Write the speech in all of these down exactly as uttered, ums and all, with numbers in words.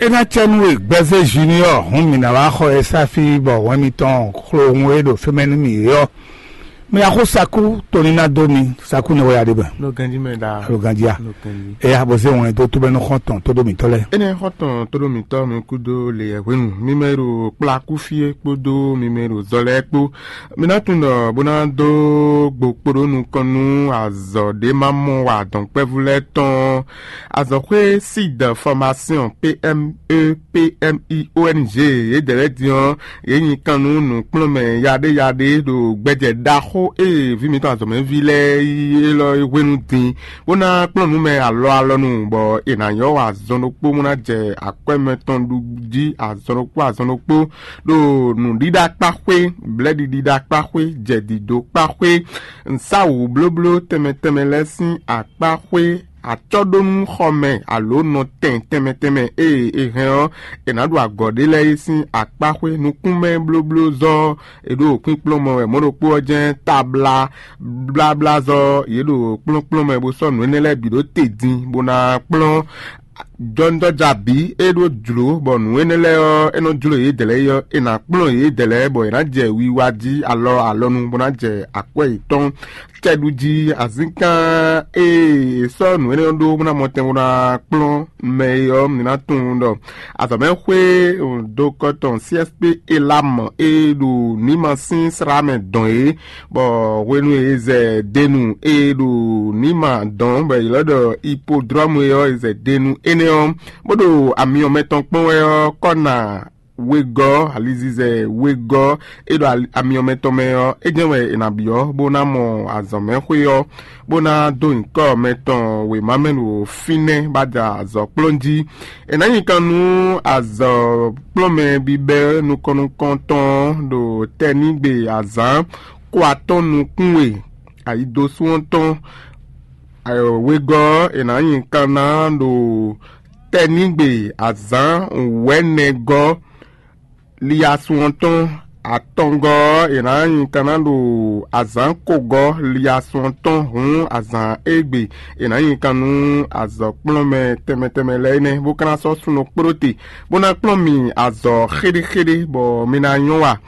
É ná cɛ nú we gbɛzé Junior hǔn mǐ ná wá xɔ e sáfí bɔ hwɛn mitɔn xlo hun e ɖo fɛmɛ nú mì é ɔ́. Mi axó sakú tóní ná dó mi, sakú ne wɛ ya ɖe bɛ. Lo ganji mɛ da. Lo ganji a. Lo ganji. Eya bɔ zé wɔn tó tó bɛ nú xɔntɔn tó dó mǐtɔn lɛ. Ene xɔntɔn tó dó mǐtɔn mi kúdó le yɛ hwenu mi mɛ ɖo kplakú fie kpódó mi mɛ ɖo zɔlɛ kpó. Mi ná tunwun ɖɔ bó ná dó gbokpo ɖó nukɔn nú azɔ̌ ɖé ma mɔ wa dɔn kpɛ́vú lɛ́ɛ tɔn. Azɔ̌xwé Sid Formation P M E P M I O N G yědɛɛ lɛ́ɛ din ɔ́, yě nyi kan nú nǔkplɔ́nmɛ yaɖéyaɖé ɖo gbɛjɛ ɖaxó e vǐ mǐtɔn azɔ̌mɛví lɛ́ɛ yí élɔ́ é hwenu din, bó ná kplɔ́n nǔ mɛ alɔ alɔnu, bɔ è nǎ nyɔ́ wa azɔn ɖokpó bó ná jɛ akwɛ́ mɛtɔn ɖu jí azɔn ɖokpó azɔn ɖokpó, ɖo nǔɖiɖa kpá xwé, blɛ́ɖiɖiɖa kpá xwé, jɛ̌dídó kpá xwé, nǔsáwǔ blóbló tɛnmɛ tɛnmɛ lɛ́ɛ sín akpá xwé, acɔ́ɖónúxɔmɛ alo nɔtɛn tɛnmɛ tɛnmɛ e è hɛn ɔ́, è nǎ ɖu agɔ̌ ɖé lɛ́ɛ é sín akpá xwé. Nukúnmɛ blóblózɔ́ ɔ́, è ɖo kpínkplɔ́n mɔ wɛ mɔ̌ ɖokpó ɔ́ jɛ́n tabla bláblázɔ́ ɔ́, yě ɖo kplɔ́nkplɔ́n mɛ bó sɔ́ nǔ énɛ́ lɛ́ɛ bǐ ɖó te din bó ná kplɔ́n jɔ́njɔ́ja bǐ e ɖó jlǒ, bɔ nǔ énɛ́ lɛ́ɛ ɔ́, é nɔ jló yědɛɛ lɛ́ɛ é ɔ́, è nǎ kplɔ́n yědɛɛ lɛ́ɛ, bɔ è nǎ jɛ wiwa jí alɔ alɔnu bó ná jɛ akwɛ́ yětɔn cɛɖu jí. Azínkán e è sɔ́ nǔ énɛ́ ɔ́ ɖó bó ná mɔtɛn bó ná kplɔ́n mɛ é ɔ́, mi ná tunwun ɖɔ azɔ̌mɛxwé dokɔtɔn C S P Elam e ɖo nǐma sín slá mɛ dɔn é, bɔ hwenu e è zɛ denu e ɖo nǐma dɔn bɔ è ylɔ́ ɖɔ ipodrɔ́mu é ɔ́, è zɛ denu énɛ́ ɔ́, bó ɖo amyɔ mɛtɔn kpɔ́n wɛ ɔ́, kɔ́ ná wegɔ́, alizizɛ wegɔ́ e ɖo ali- amyɔ mɛtɔn mɛ ɔ́, é jɛ́n wɛ è nǎ byɔ́ bó ná mɔ azɔ̌mɛxwé ɔ́, bó ná dó nyǐkɔ mɛtɔn wěma mɛ ɖo fínɛ́ bó ná da azɔ̌ kplɔ́n jí. È nǎ nyi kan nú azɔ̌ kplɔ́nmɛ bíbɛ́ nukɔn nukɔntɔn ɖo tɛnígbe azǎn kó atɔ́ nukún e ayidosú ɔ́ tɔn wegɔ́ ɔ́, è nǎ nyi kan ná ɖo tɛnígbe azǎn wɛ̌nɛgɔ́ liasun ɔ́ tɔn, atɔngɔ́ ɔ́, è nǎ nyi kan ná ɖo azǎn kogɔ́ liasun ɔ́ tɔn hǔn azǎn égbé è nǎ nyi kan nú azɔ̌kplɔ́nmɛ tɛnmɛ tɛnmɛ lɛ́ɛ énɛ́, bó ka ná sɔ́ súnnu kpló te, bó ná kplɔ́n mi azɔ̌ xéɖéxéɖé, bɔ mi ná nyɔ́ wa.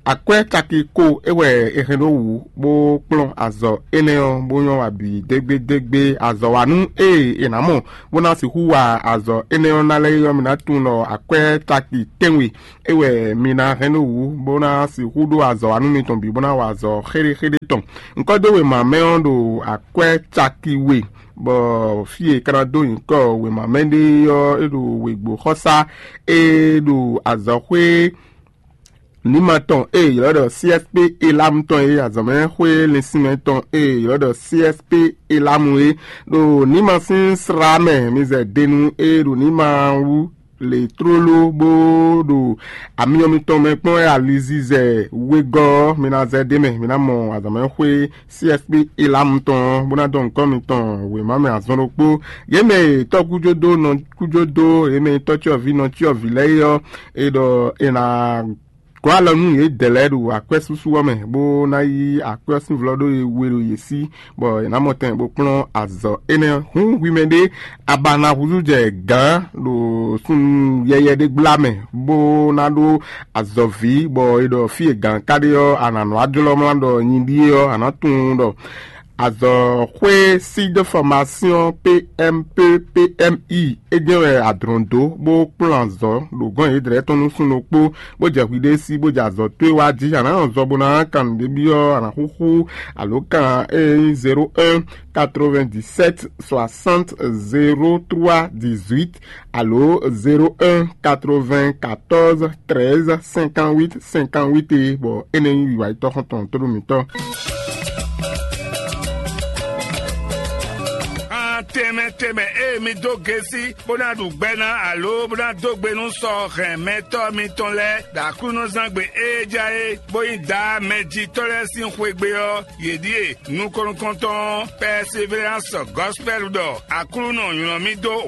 Akwɛ́ caki ko é wɛ è hɛn ɖó wǔ bó kplɔ́n azɔ̌ énɛ́ ɔ́, bó nyɔ́ wa bǐ dégbédégbé. Azɔ̌wanú e è nǎ mɔ bó ná sixú wa azɔ̌ énɛ́ ɔ́ ná lɛ́ɛ é ɔ́, mi ná tunwun ɖɔ akwɛ́ caki tɛ́nwe é wɛ mi ná hɛn ɖó wǔ bó ná sixú ɖó azɔ̌wanú mitɔn bǐ bó ná wa azɔ̌ xéɖéxéɖé tɔn. Ŋkɔ́ dó wěma mɛ ɔ́ ɖo akwɛ́ caki we, bɔ fí e è ka ná dó nyǐkɔ wěma mɛ ɖe ɔ́, é ɖo wěgbó xɔsá e ɖo azɔ̌xwé nǐma tɔn e è ylɔ́ ɖɔ C S P Elam tɔn e, azɔ̌mɛxwé linsinmɛ tɔn e è ylɔ́ ɖɔ C S P Elam e, ɖo nǐma sín slá mɛ. Mi zɛ denu e ɖo nǐma wú le tlóló bó ɖo amyɔ mitɔn mɛ kpɔ́n wɛ alizizɛ wegɔ́ ɔ́, mi ná zɛ ɖ'é mɛ, mi ná mɔ azɔ̌mɛxwé C S P Elam tɔn ɔ́, bó ná dɔn nǔkɔ mitɔn wěma mɛ azɔn ɖokpó. Yě mɛ e tɔ́ kújó dó nɔ kújó dó, yě mɛ e tɔ́ cyɔ́vǐ nɔ cyɔ́vǐ lɛ́ɛ é ɔ́, é ɖɔ è nǎ gɔ́ alɔ nú yědɛɛ lɛ́ɛ ɖo akwɛ́súsú ɔ́ mɛ, bó ná yí akwɛ́ ɔ́ sín vlɔ́ ɖó e we ɖo yě sí, bɔ è nǎ mɔ tɛn bó kplɔ́n azɔ̌ énɛ́ ɔ́. Hǔn hwi mɛ ɖé, a ba ná húzú jɛ gǎn ɖo súnnu yɛyɛ ɖé gbla mɛ, bó ná ɖó azɔ̌ví, bɔ è ɖɔ fí e gǎn ka ɖe ɔ́, a nǎ nɔ wá jlɔ́ mlá ɖɔ nyi ɖíe ɔ́, a nǎ tunwun ɖɔ azɔ̌xwé Sud Formation P M P P M I é jɛ́n wɛ a dlɔ̌n dó bó kplɔ́n azɔ̌ ɖo gɔ̌n yědɛɛ tɔn nú súnnu kpó, bó jɛ hwi ɖé sí, bó jɛ azɔ̌ towe wá jí. A nǎ nɔ zɔ bó ná kan nǔɖé byɔ́, a nǎ xúxú alǒkan e nyí zéro un quatre-vingt-dix-sept soixante zéro trois dix-huit alo zéro un quatre-vingt-quatorze treize cinquante-huit cinquante-huit é, bɔ énɛ́ nyí wiwa yětɔn xɔ́ntɔn tóɖó mǐtɔn. Tɛnmɛ tɛnmɛ e mi dó gesi bó ná ɖu gbɛ ná alo bó ná dó gbe nú sɔ hɛn mɛtɔ́ mitɔn lɛ́ɛ ɖo Aklúnɔzángbe e ja é, bó nyí Daá mɛjitɔ́ lɛ́ɛ sín xwegbe ɔ́, yě ɖíe: nukɔn nukɔntɔn Perseverance Gospel ɖɔ Aklúnɔ nylɔ́ mì dó